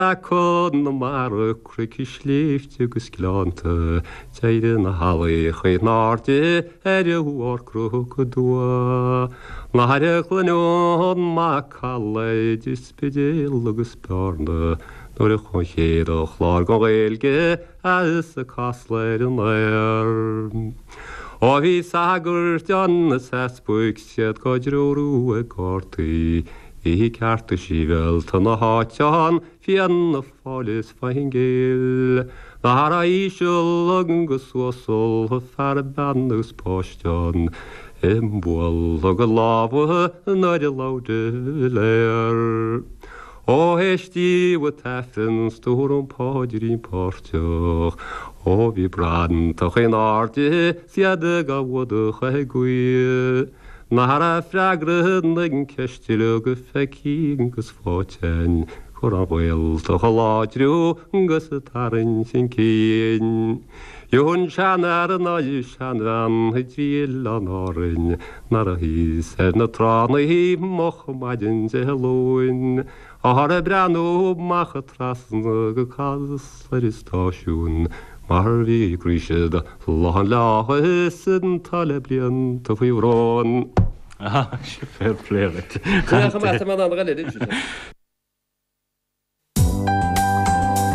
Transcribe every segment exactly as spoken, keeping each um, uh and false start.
Conamara, cnoic is sléibhte agus gleannta, D'éirigh na healaí in airde ar bharr cnoc aduaidh. Nuair a chluinim macalla idir Spidéal agus Bearna, Nuair a chuaigh an chéad chlár den Ghaeilge as Casla ar an aer. Ó bhí sagairt ann is easpaig 's iad dhá dtreorú ag gardaí, Bhí cearta sibhialta na háite ann, Fianna Fáil is Fine Gael. Nach raibh íseal agus uasal, fear bean agus páiste ann, Ag bualadh a gcuid lámha nuair a labhair de Valera. Ó éistíodh an tAifreann 's dúradh an paidrín páirteach, Ó bhí bratacha in airde 's iad ag fuadach ag guí. Nach raibh freagra na ceiste uilig feicthe agus faighte a'inn, Chun an Ghaeltacht a láidriú agus a tarraingt chun cinn. Gheobhaidh an seanfhear nó seanbhean i dtrí oileán Árainn Nuair a shuíos ar na tránna moch maidin Dé Luain, Athar ag breathnú amach trasna go Casla ar an stáisiún Mar bhí croí siad lán le áthas atá le blianta faoi bhrón. Ah, fair play duit.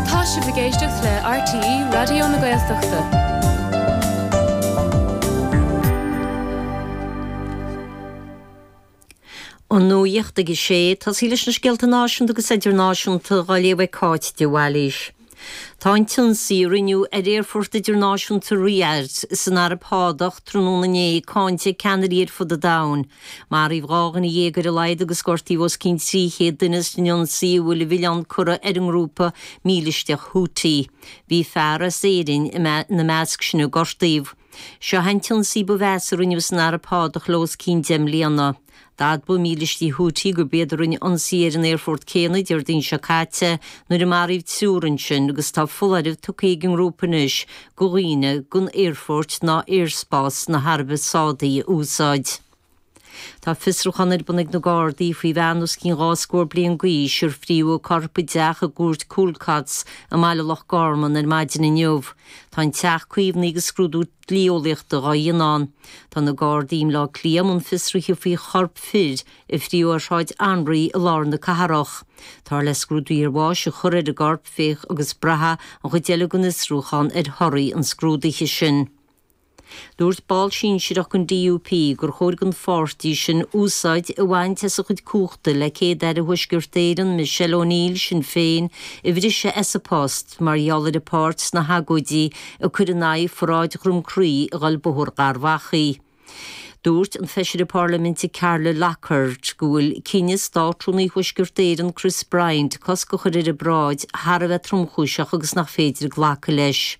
Tá sibh ag éisteacht le RTÉ Raidió na Gaeltachta. An nuacht ag a sé, tosaí leis na scéalta náisiúnta agus idirnáisiúnta á léamh ag Cáit de Bhailís. Tá an t-ionsaí a rinneadh ar aerfort idirnáisiúnta Riyadh san Araib Shádach tráthnóna inné cáinte ag ceannairí ar fud an domhain. Maraíodh dhá dhuine dhéag ar a laghad agus gortaíodh os cionn trí chéad duine san ionsaí a bhfuil an milleán curtha ar an ngrúpa mílisteach Houthi. Bhí fear as Éirinn ina measc sin a gortaíodh. Seo an t-ionsaí ba mheasa a rinneadh san Araib Shádach le os cionn deich mbliana. D'admhaigh mílistí Houthi gurb iad a rinne ionsaí ar an aerfort céanna Déardaoin seo caite nuair a maraíodh triúr ansin agus tá foláireamh tugtha ag an ngrúpa anois do dhaoine gan aerfoirt ná aerspás na hAraibe Sádaí a úsáid. Tá fiosrúchán ar bun ag na Gardaí faoi bhean os cionn dhá scór bliain d'aois ar fríodh a corp i dteach i gCúirt Coolcotts i mBaile Loch Garman ar maidin inniu. Tá an teach caomhnaithe agus scrúdú dlí-eolaíochta á dhéanamh ann. Tá na Gardaí i mBleá Cliath i mbun fiosraithe faoi chorp fir a fríodh ar Shráid Anraí i lár na cathrach. Táthar le scrúdú iarbháis a chur ar an gcorp féach agus braithfidh an chuid eile den fhiosrúchán ar thorthaí an scrúdaithe sin. Dúirt ball sinsearach den DUP gur chóir don pháirtí sin úsáid a bhaint as a chuid cumhachta le Céad-Aire Thuaisceart Éireann, Michelle O'Neill, Sinn Féin, a bhriseadh as a post mar gheall ar a páirt sna hagóidí a cuireadh in aghaidh pharáid Dhroim Crí a dhul Bóthar Gharbh Achaidh. Dúirt an feisire parlaiminte Carla Lockhart go bhfuil cinneadh Státrúnaí Thuaisceart Éireann Chris Bryant cosc a chur ar an bparáid thar a bheith tromchúiseach agus nach féidir glacadh leis.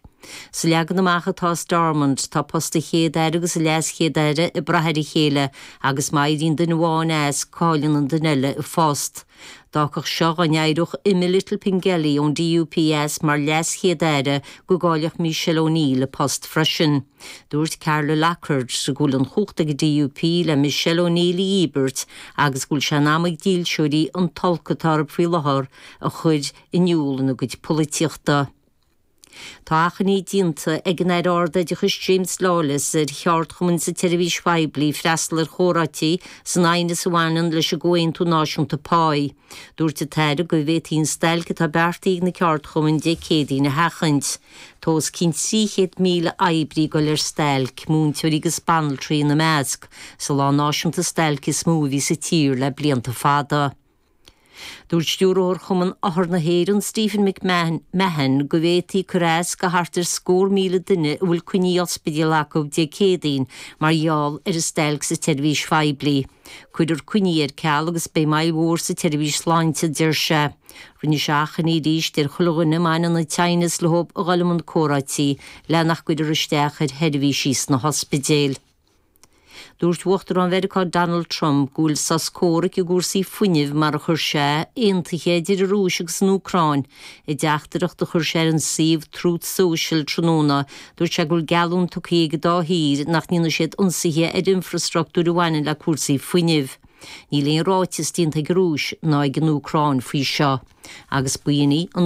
Sa leagan amach atá i Stormont, tá post an Chéad-Aire agus an LeasChéad-Aire ag brath ar a chéile agus má éiríonn duine amháin as, cailleann an duine eile a phost. D'fhágfadh seo dá n-éireodh Emma Little-Pengelly ón DUP as mar LeasChéad-Aire go gcaillfeadh Michelle O'Neill a post freisin. Dúirt Carla Lockhart go bhfuil an chumhacht ag an DUP le Michelle O'Neill a dhíbirt agus go bhfuil sé in am ag dílseoirí an t-olc atá orthu faoi láthair a chur in iúl ina gcuid polaitíochta. Tá achainí déanta ag an Aire Ard-Oideachais James Lawless ar cheardchumainn sa tseirbhís phoiblí freastal ar chomhráití san aighneas a bhaineann leis an gComhaontú Náisiúnta Páí. Dúirt an tAire go bhféadfaí an stailc atá beartaithe ag na ceardchumainn Dé Céadaoin a sheachaint. Tá os cionn trí chéad míle oibrí ag dul ar stailc, múinteoirí agus banaltraí ina measc, sa lá náisiúnta stailce is mó a bhí sa tír le blianta fada. Dúirt Stiúrthóir Chumann Othar na hÉireann, Stephen McMahon, go bhféadfaí cur as go thart ar scór míle duine a bhfuil coinní ospidéil acu Dé Céadaoin mar gheall ar an stailc sa tseirbhís phoiblí. Cuirfear coinní ar ceal agus beidh moill mhór sa tseirbhís sláinte, a deir sé. Rinne sé achainí arís ar chuile dhuine a mbaineann an t-aighneas leo a dhul i mbun comhráití le nach gcuirfear isteach ar sheirbhísí sna hospidéil. Dúirt Uachtarán Mheiriceá Donald Trump go bhfuil sos comhraic i gcúrsaí fuinnimh mar a chuir sé aontaithe idir an Rúis agus an Úcráin. I dteachtaireacht a chuir sé ar an suíomh Truth Social tráthnóna, dúirt sé go bhfuil geallúint tugtha ag an dá thír nach ndéanfaidh siad ionsaithe ar infreastruchtúr a bhaineann le cúrsaí fuinnimh. Níl aon ráiteas déanta ag an Rúis ná ag an Úcráin faoi seo. Agus b'in í an